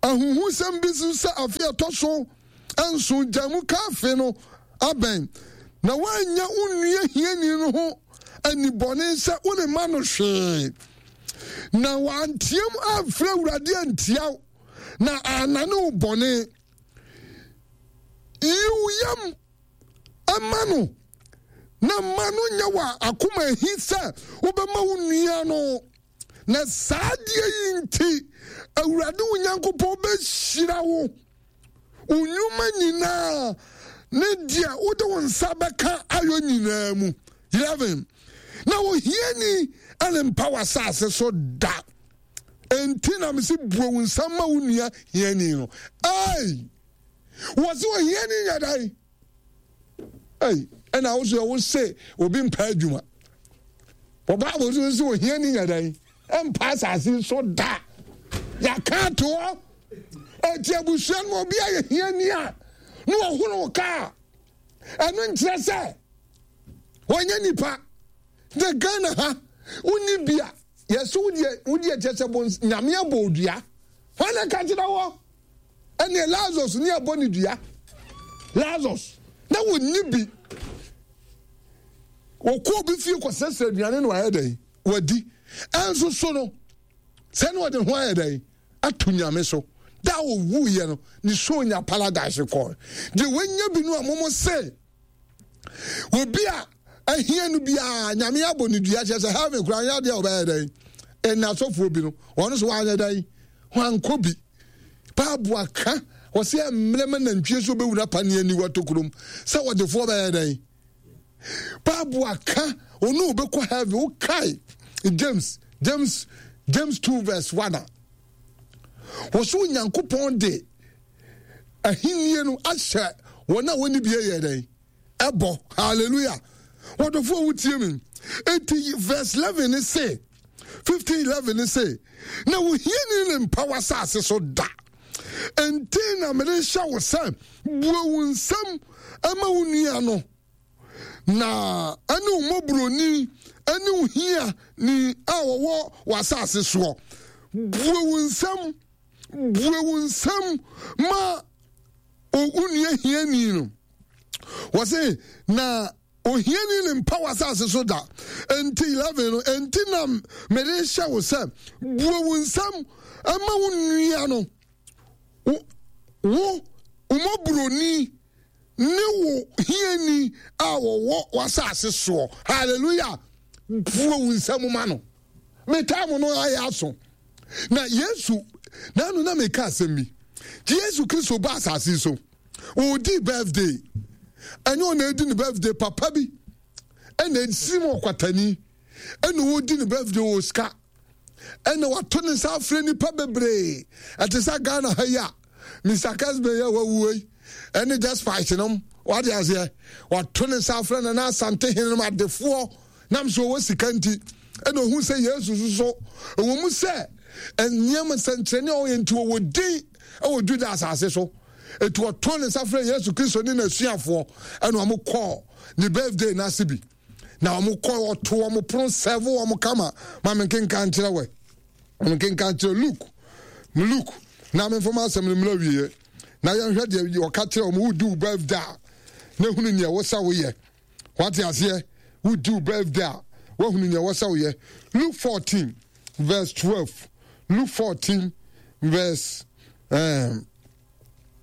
ahuhusɛm bi so sɛ afe a ɛtɔ so nson gya mu ka afe no abɛn, na woannya wo nua hiani no ho anibɔne sɛ woremma no hwee, na wanteam amfrɛ Awurade antia wo, na annane wo bɔne. Yi wo yam ma no, na mma no nyɛ wɔ akoma ahi sɛ wobɛma wo nua no. Na saa adeɛ yi nti, Awurade wo Nyankopɔn bɛhyira wo, wo nnwuma nyinaa ne deɛ wode wo nsa bɛka ayɔ nyinaa mu. eleven na ohiani rempa w'asase so da. Enti na mese bue wo nsa ma wo nua hiani no. Ei! Wɔse ohiani nyɛ dɛn? Ei, ɛna wo so wo se obi mpa adwuma. Wɔ Bible so nso ohiani nyɛ dɛn? Mpa asase so da. Yɛaka ato hɔ. Eti abusua no obi ayɛ hiani a na wɔhoro kaa. Ɛno nkyerɛ sɛ wɔnyɛ nipa. Na Ghana ha wonni bi a yɛsɛ wodeɛ wodeɛ kyerɛ sɛ bons nyame abɔ odua. Hwan na ka kyerɛ wɔ? Ɛneɛ Lazarus ne abɔ ne dua. Lazarus na wɔnni bi. Wɔkɔ obi fie kɔsrɛsrɛ aduane na wayɛ dɛn? Wadi. Ɛnso so no sɛ ne ɔde ho ayɛ dɛn? Ato Nyame so. Da a ɔwuiɛ no, ne soul nya paradise kɔɔ. Deɛ wanya bi no a momo se obi a ahia no biara Nyame abɔ ne dua, kyerɛ sɛ heaven koraa nyɛ adeɛ a ɔbɛyɛ dɛn. Ɛna asɔfoɔ bi no, wɔn nso wɔanyɛ dɛn, wɔankɔ bi. Bible aka, wɔsɛ mmerɛ ma nantwie so bɛwura paneɛ aniwa tokurom sɛ wɔdefoɔ bɛyɛ dɛn. Bible aka, ɔno wobɛkɔ heaven. Wokae James James James two verse one a, wɔso Onyankopɔn de ahennie no ahyɛ wɔn a wɔnni bie yɛ dɛn ɛbɔ. Hallelujah. Wɔdɔfoɔ wotie me. Eti verse eleven ne se, fifteen eleven ne se, na wohiani ne mpa w'asase so da. Enti na mede hyɛ wo sɛ bue wo nsam ma wo nua no, na ɛne wo mmɔborɔni ne wo hiani a wɔwɔ w'asase soɔ. Bue wo nsam, bue wo nsam ma wo nua hiani no. Wɔse na ohiani ne mpa w'asase so da. Enti eleven no, enti na mede hyɛ wo sɛ bue wo nsam ma wo nua no, wo wo mmɔborɔni ne wo hiani a wɔwɔ w'asase soɔ. Hallelujah. Bue wo nsam ma no. Me time no ayɛ aso. Na Yesu, nanu na meka asɛm bi. Yesu Kristo ba asase so. Ɔredi birthday. Ɛnyɛ ɔna edi ne birthday, papa bi ɛna esi mu ɔkwatani ɛna ɔredi ne birthday wɔ sika. Ɛna wato ne nsa afrɛ nipa bebree. Ɛte sɛ Ghana ha yi a Mister Kesbe yɛ wawuo yi ɛne Despite nom, wade aseɛ, wato ne nsa afrɛ Nana Asante hene nom adefoɔ nam so ɔwɔ sika nti. Ɛna ohun sɛ Yesu nso ɛwɔ mu sɛ nneɛma nsɛnkyerɛnne a ɔyɛ nti ɔwɔ din ɛwɔ Juda asase so. Eti ɔto ne nsa frɛ Yesu Kristo ne n'asuafoɔ ɛna wɔn kɔɔ ne birthday n'ase bi. Na wɔn kɔ ɔto wɔn pono sɛvo wɔn kama. Ma me nkenka nkyerɛ wɛ. Ma me nkenka nkyerɛ Luke. Luke na me nfam asɛm no mmerɛ wieɛ. Na yɛnhwɛ deɛ ɔka kyerɛ wɔn. Wodi wo birthday a na ehunu nea ɛwɔ sɛ woyɛ. Wate aseɛ? Wodi wo birthday a woahunu nea ɛwɔ sɛ woyɛ. Luke fourteen verse twelve. Luke fourteen verse um,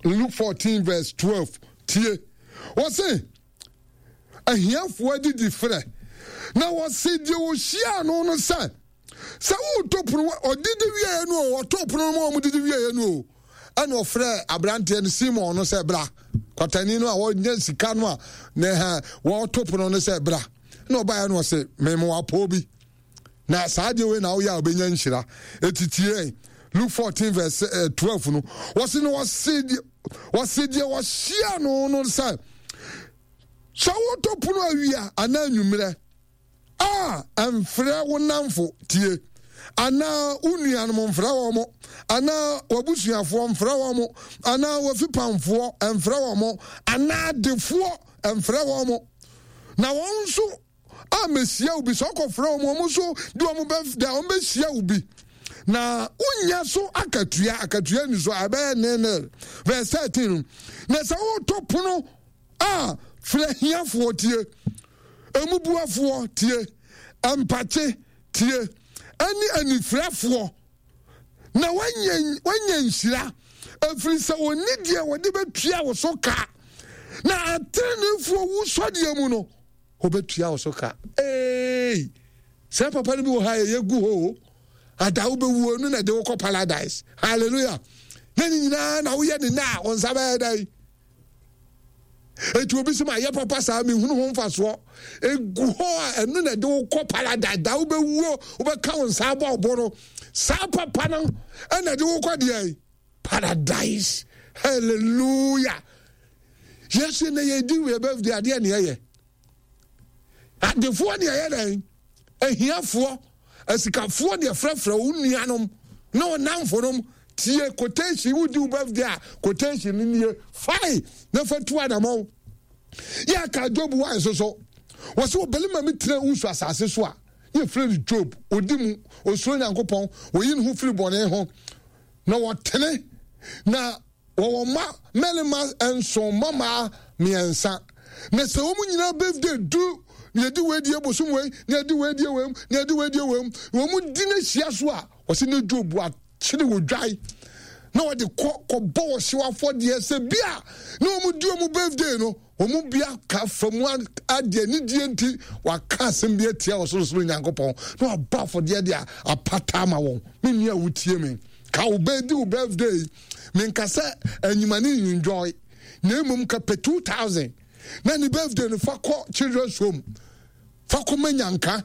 Luke fourteen verse twelve. Tie. Wɔse ahiafoɔ adidi frɛ na wɔse deɛ wɔhyiaa no no sɛ sɛ woto pono ɔdidi wieɛ no o, ɔto pono no ma wɔn didi wieɛ no o, ɛna ɔfrɛ aberanteɛ no Simon no sɛ bra, kwatani no a wɔnya sika no a ne ha wɔto pono no sɛ bra, na ɔbaeɛ no ɔse mema wapɔw bi na saa deɛ wei na woyɛ a wobɛnya nhyira. Ɛtitie Luke fourteen verse twelve no, wɔse no wɔse deɛ wɔse deɛ wɔhyia no no sɛ sɛ woto pono awia anaa anwummerɛ a, ɛmfrɛ wo nnamfo, tie, anaa wo nuanom mfrɛ wɔn, anaa w'abusuafoɔ mfrɛ wɔn, anaa w'afipamfoɔ mfrɛ wɔn, anaa adefoɔ mfrɛ wɔn, na wɔn nso a mehyia wo bi sɛ ɔkɔfrɛ wɔn, wɔn nso de wɔn bɛ da wɔn bɛhyia wo bi, Na wonya so akatua, akatua ni so a ɛbɛyɛ nil. Verse thirteen. Na sɛ woto pono a, frɛ hiafoɔ tie, emubuafoɔ tie, mpakye tie, ɛne anifirafoɔ, na wanya wanya nhyira, ɛfiri sɛ wɔnni deɛ wɔde bɛtua wo so ka, na ateneneefoɔ wusɔdeɛ mu no wɔbɛtua wo so ka. Ee, sɛ papa no bi wɔ ha yɛyɛ gu hɔ o, ada wobɛwuo no na ɛde wokɔ paradise. Hallelujah. Na ne nyinaa na woyɛ ne na a wo nsa bɛyɛ dɛn? Eti obi sɛ ma yɛ papa saa mehunu ho mfasoɔ. Egu hɔ a ɛno na ɛde wo kɔ paradise. Da wobɛwuo wobɛka wo nsa abɔ ɔbo no, saa papa no ɛna ɛde wo kɔ deɛ paradise. Hallelujah. Yesu na yɛdi wɔ birthday adeɛ ne ɛyɛ adefoɔ ne ɛyɛ dɛn, ahiafoɔ, asikafoɔ deɛ frɛfrɛ wo nuanom na wo namfonom. Tie quotation, wodi wo birthday a quotation no nie, fae na fa tu anamɔn. Yɛ aka Job wa nso so, wɔ sɛ ɔbarima mi tena wusu asase so a yɛfrɛ no Job, ɔdi mu, ɔsuro Nyankopɔn, ɔyi ne ho firi bɔne ho, na wɔtene, na wɔwɔ mma mmarima nson, mmammaa mmiɛnsa. Na sɛ wɔn nyinaa birthday du, na yɛdi wei die bosom wei, na yɛdi wei die wei mu, na yɛdi wei die wei mu, na wɔn di no ahyia so a, wɔsi ne Job akyere wɔ dwae, na wɔde kɔ kɔbɔ wɔ hyew afɔdeɛ sɛ bi a na wɔn di wɔn birthday no, wɔn bi aka fa mu adeɛ anigyeɛ nti waka asɛm bi atia ɔsorosoro Nyankopɔn, na wabɔ afɔdeɛ de apata ama wɔn. Me nua a wotie me, ka wo bɛ di wo birthday, menka sɛ anyima ne enjoy, na mmom ka pɛ two thousand na ne birthday no fa kɔ children's home, fa kɔ ma nyanka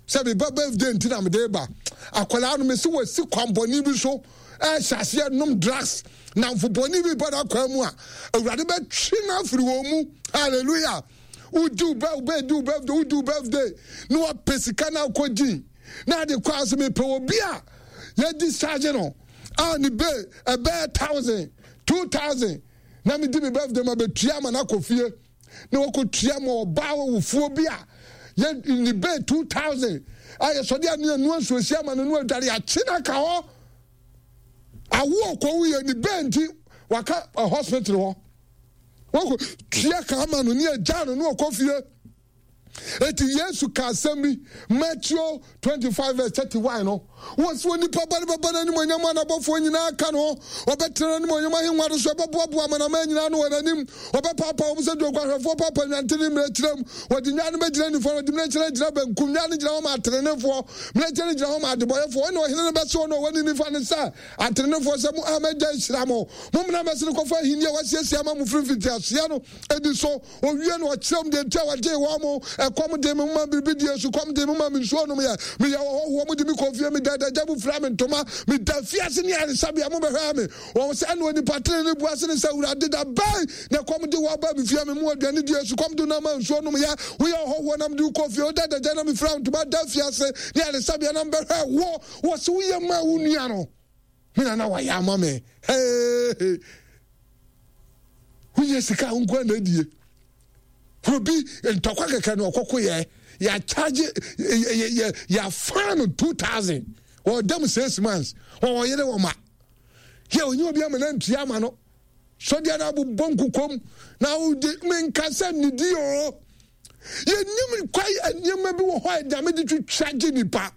sɛ meba birthday nti na mede ba. Akwadaa no mesi wasi kwanbɔne bi so ɛhyɛ aseɛ nom drugs, namfo bɔne bi ba n'akwan mu a, Awurade bɛtwe no afiri wɔn mu. Hallelujah. Wodi wo bɛ di wo birthday, wodi wo birthday na wapɛ sika na akɔ gyin na ade kɔ ase. Mepɛ obi a yɛdi charge no a ne be ɛbɛyɛ thousand two thousand na medi me birthday ma bɛtua ama no akɔ fie, na wakɔtua ma ɔbaa wofoɔ bi a yɛ ne be two thousand a yɛsɔde a ne anua nsuosi ama no no adware akye no aka hɔ awo ɔkɔwo yɛ ne be nti waka hospital hɔ wakɔ tua ka ama no ne agya no ne ɔkɔ fie. Eti Yesu ka asɛm bi, Matthew twenty-five verse thirty-one no, wɔsi onipa ba no bɛba n'animuonyam a n'abɔfoɔ nyinaa ka no, ɔbɛtena n'animuonyam ahengua no so, ɛbɛboaboa amanaman nyinaa ano wɔ n'anim, ɔbɛpaapaa wɔn sɛ dwoguahwɛfoɔ paapa nnwantene mmirekyerɛ mu, wɔde nnwan no bɛgyina nifa na wɔde mmirekyerɛ agyina benkum, nnwan no gyina hɔ ma ateneneefoɔ, mmirekyerɛ no gyina hɔ ma adebɔyɛfoɔ. Ɛnna ɔhene no bɛse wɔn a wɔwɔ ne nifa no sɛ, Ateneneefoɔ sɛ mo a m'agya ahyira mo, mommra mmɛsene kɔfa ahenni a wɔasiesie ama mo firi mfitiaseɛ no adi so. Owie no, ɔkyerɛ wɔn deɛ nti a wɔgyee wɔn mo. Ɛkɔm dee me, momaa me biribi diiɛ, sukɔm dee me, momaa me nsuo nomyɛ. Meyɛ ɔhɔhoɔ, mode me kɔɔ fie, meda adagya, mofiraa me ntoma. Meda afiase ne ayaresabea, mobɛhwɛɛ me. Wɔn sɛ, ɛnna onipa tenenee bua se no sɛ, Awurade, da bɛn na ɛkɔm de wo aba me fie a mema wo aduane diiɛ, sukɔm de wo na maa nsuo nomyɛ? Woyɛ ɔhɔhoɔ na mede wo kɔɔ fie, woda adagya na mefiraa wo ntoma, da afiase ne ayaresabea na mebɛhwɛɛ wo. Wɔse woyɛ maa wo nua no, me na na wayɛ ama me. Hey! Wonya sika a wo na adie. Obi ntɔkwa kɛkɛ na ɔkɔko yɛ, yɛakyagye yɛafa no two thousand, ɔda six months, wɔwɔ yere wɔ ma. Yɛ onye obi ama na ntua ama no. Sɔdeɛ no abobɔ nkukom na wode menka sɛ nidi o. Yɛnim kwae nneɛma bi wɔ hɔ a Nyame de twitwa gye nipa.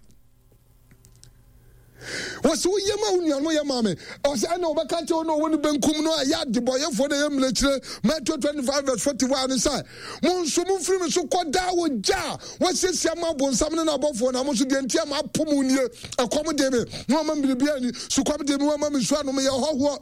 Wɔsɛ woyɛ ma wo nuanom yɛ ma me. Ɔsɛ ɛna wɔbɛka kyerɛ wo na ɔwɔ ne benkum no a ɛyɛ adebɔyɛfoɔ na ɛyɛ mmirekyire. Matthew twenty-five verse forty-one no sɛ, mo nso momfiri me so kɔ daa wɔ gya a wɔasiesie ama abonsam ne n'abɔfoɔ, na mo nso deɛ nti a mapo mo nie, ɛkɔm de me, na wɔama me biribi ani, sukɔm de me, wɔama me nsuo anom, yɛ ɔhɔhoɔ,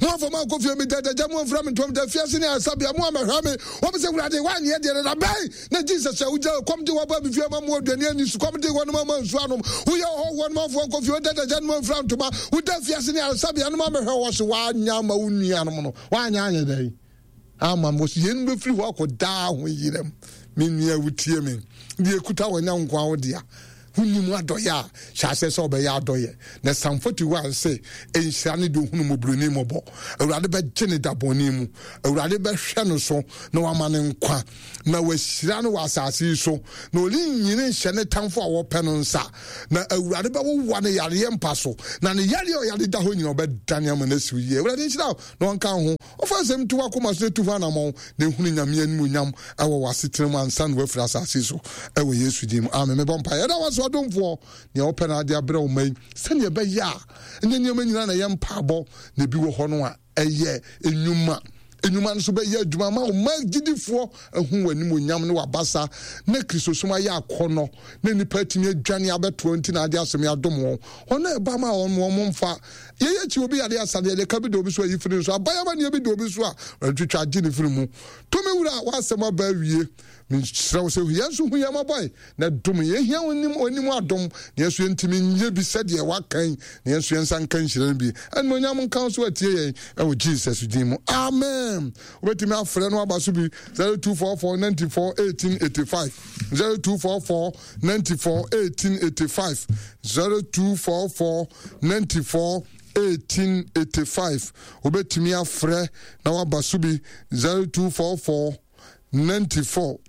mo afa mo akɔ fie, me dadagya, mo amfira me ntoma, da fiase ne asabea, mo amɛhwɛ me. Wɔn sɛ, Awurade, woanyɛ deɛ dada bɛn na Jesus a wogya kɔm de wɔba me fie ma mo aduane ani, sukɔm de wɔn ma nsuo anom, woyɛ ɔhɔhoɔ no manfoɔ nkɔ fie, woda dadagya no amfira ntoma, woda fiase ne asabea no ma mɛhwɛ wɔ so, woanyɛ ama wo nuanom no, woanyɛ anyɛ dɛn ama mo so. Yɛn bɛfiri hɔ akɔ daa ho yerɛm. Me nua wotie me, deɛ ekuta wɔ nya nko awo dea. Wonnim adɔeɛ a, hyɛ aseɛ sɛ wobɛyɛ adɔeɛ. Na Psalm forty-one se, Nhyira ne deɛ ɔhunu mmɔborɔni mmɔbɔ. Awurade bɛgye ne da bɔne mu. Awurade bɛhwɛ no so na wama no nkwa, na wahyira no wɔ asase yi so, na ɔrennyini nhyɛ ne tamfo a wɔpɛ no nsa. Na Awurade bɛwowa ne yareɛ mpa so, na ne yareɛ a ɔyare da hɔ nyina ɔbɛdane ama no asiw yie. Awurade nhyira wo na ɔnka wo ho. Ɔfa nsɛm to w'akoma so na tu ho anammɔn, na ehunu Nyame animuonyam wɔ w'asetena mu ansa na woafiri asase so, wɔ Yesu din mu, amen. Mebɔ mpaeɛ. Yɛda wo ase, ɔdomfoɔ, nea wopɛ na ade abrɛ wo mma yi, sɛnea ɛbɛyɛ a ɛnyɛ nneɛma nyinaa na ɛyɛ mpaebɔ, na ebi wɔ hɔ no a ɛyɛ nnwuma. Nnwuma no nso bɛyɛ adwuma ama wo mma gyidifoɔ ahu w'animuonyam ne w'abasa, na Kristosom ayɛ akɔnnɔ, na nnipa atumi adwane abɛtoa nti na ade asɛm yi adom wɔn. Wɔn a ɛba ma wɔn wɔn mfa. Yɛyɛ akyi obi yare asa deɛ ɛde ka bi da obi so ayi firi nso aban amanneɛ bi da obi so a wɔatwitwa agye ne firi mu. Tumi wura, w'asɛm aba awie. Mesrɛ wo sɛ hu yɛn nso hu yɛn mmɔbɔ na dom yɛn. Yɛhia wo nim w'anim adom na yɛn nso yɛntumi nyɛ bi sɛdeɛ waka yi, na yɛn nso yɛn nsa nka nhyira no bi. Animuonyam nka wo so atie yɛn ɛwɔ Jesus din mu. Amen. Wobɛtumi afrɛ no aba so bi zero two four four ninety four eighteen eighty five, zero two four four ninety four eighteen eighty five, zero two four four ninety four eighteen eighty five. Wobɛtumi afrɛ na waba so bi zero two four four ninety four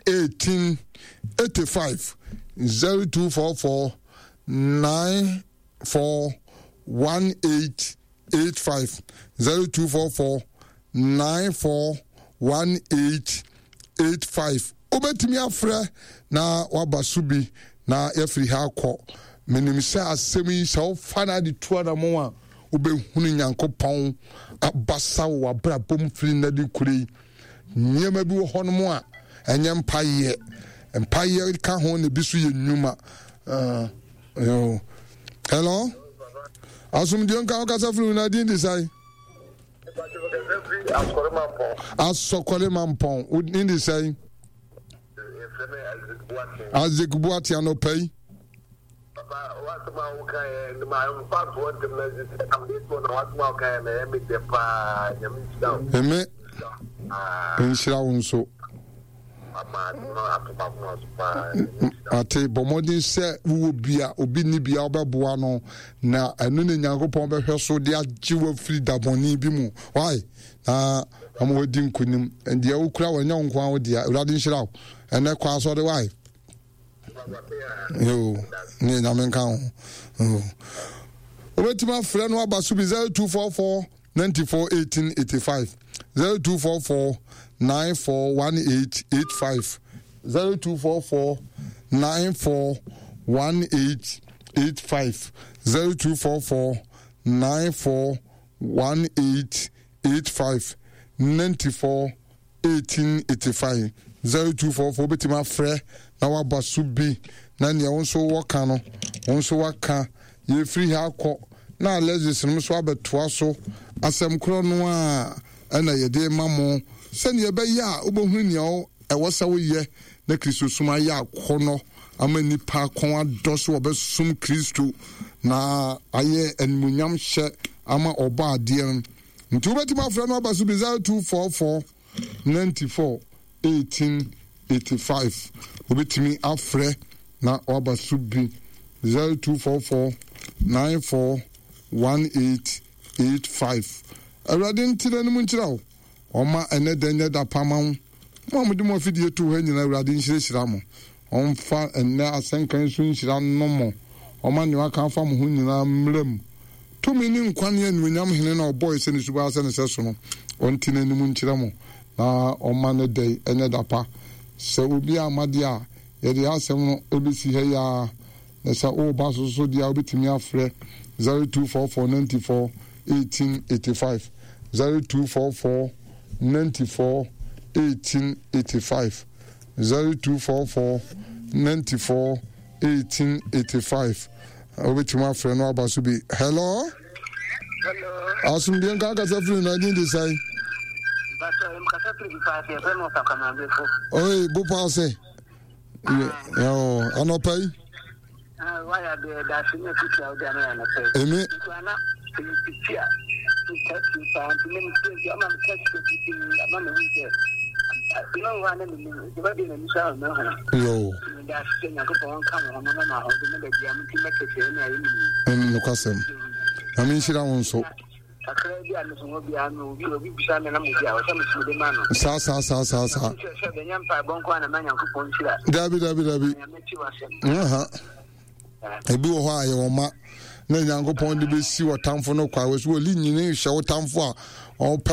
eighteen eighty five, zero two four four nine four one eight eight five, zero two four four nine four one eight eight five. Wobɛtumi afrɛ na waba so bi na yɛafiri ha akɔ. Menim sɛ asɛm yi sɛ wofa no ade tu anamo a, wobɛhunu Nyankopɔn abasa wɔ w'abrabɔ mu firi nnɛ de kure yi. Nneɛma bi wɔ hɔnom a ɛnyɛ mpayɛ. Mpayɛ ka ho na ebi so yɛ nnwuma. Uh, yo. Hello? Asomdwe nka wo kasa firi na din de sɛn? Asɔkɔre Mampɔn. Wo din de sɛn? Isaac Boate anɔpa yi. Papa, w'asɛm a woka yɛ no ma mfa ntoɔ ntɛm na sɛ sɛ am this one na w'asɛm a woka yɛ na ɛyɛ me dɛ paa. Nyame nhyira wo. Eme nhyira wo nso. Ate, bɔ mmɔden sɛ wowɔ bi a obi nni bi a wobɛboa no, na ɛno ne Nyankopɔn bɛhwɛ so de agye wo afiri dabɔne bi mu. Why? Na ama wadi nkonim. Deɛ wokura wɔ ɛnyɛ wo nko ara wo dea. Awurade nhyira wo. Ɛnɛ kɔ asɔre why? Yo, ne Nyame nka ho. Wobɛtumi afrɛ no aba so bi zero two four four ninety four eighteen eighty five, zero two four four nine four one eight eight five, zero two four four nine four one eight eight five, zero two four four nine four one eight eight five, ninety four eighteen eighty five, zero two four four. Wobɛtumi afrɛ na waba so bi na nea wo nso wɔka no wo nso waka. Yɛfiri ha akɔ na Alexis nom nso abɛtoa so. Asɛm korɔ no a ɛna yɛde ma mo sɛnea ɛbɛyɛ a wobɛhunu nea ɛwɔ sɛ woyɛ na Kristosom ayɛ akɔnnɔ ama nnipa kɔn adɔ so wɔbɛsom Kristo na ayɛ animuonyam hyɛ ama ɔbɔ adeɛ no. Nti wobɛtumi afrɛ no aba so bi zero two four four ninety four eighteen eighty five. Wobɛtumi afrɛ na waba so bi zero two four four nine four one eight eight five. Awurade nte n'anim nkyerɛ wo, ɔma ɛnɛ da nyɛ da pa ma wo. Mo a mode mo afidie too ha nyinaa, Awurade nhyirahyira mo. Ɔmfa ɛnnɛ asɛnka yi so nhyira nnom mo. Ɔma nea waka afa mo ho nyinaa mmra mu. Tumi ne nkwa ne anuonyam Hene no a ɔbɔe sɛ ne suban sɛ ne sɛso no, ɔnte n'anim nkyerɛ mo, na ɔmma ne da yi nyɛ da pa. Sɛ obi amma deɛ a, yɛde yɛn asɛm no bɛsi ha yi ara. Na sɛ woreba so nso deɛ a, wobɛtumi afrɛ zero two four four ninety four eighteen eighty five, zero two four four ninety four eighteen eighty five, zero two four four ninety four eighteen eighty five. Wobɛtumi afrɛ no aba so bi. Hello? Asomdwe nka akasa firi no ɛdin de sɛn? Oi, bopa ase. Anɔpa yi. Emi. Yo. Nokwasɛm. Nyame nhyira wo nso. Saa saa saa saa saa. Dabi dabi dabi. Aha. Ebi wɔ hɔ a yɛwɔ ma na Nyankopɔn de bɛsi ɔtamfo no kwa wɔ so wɔli nyini hyɛ wo tamfo a ɔpɛ.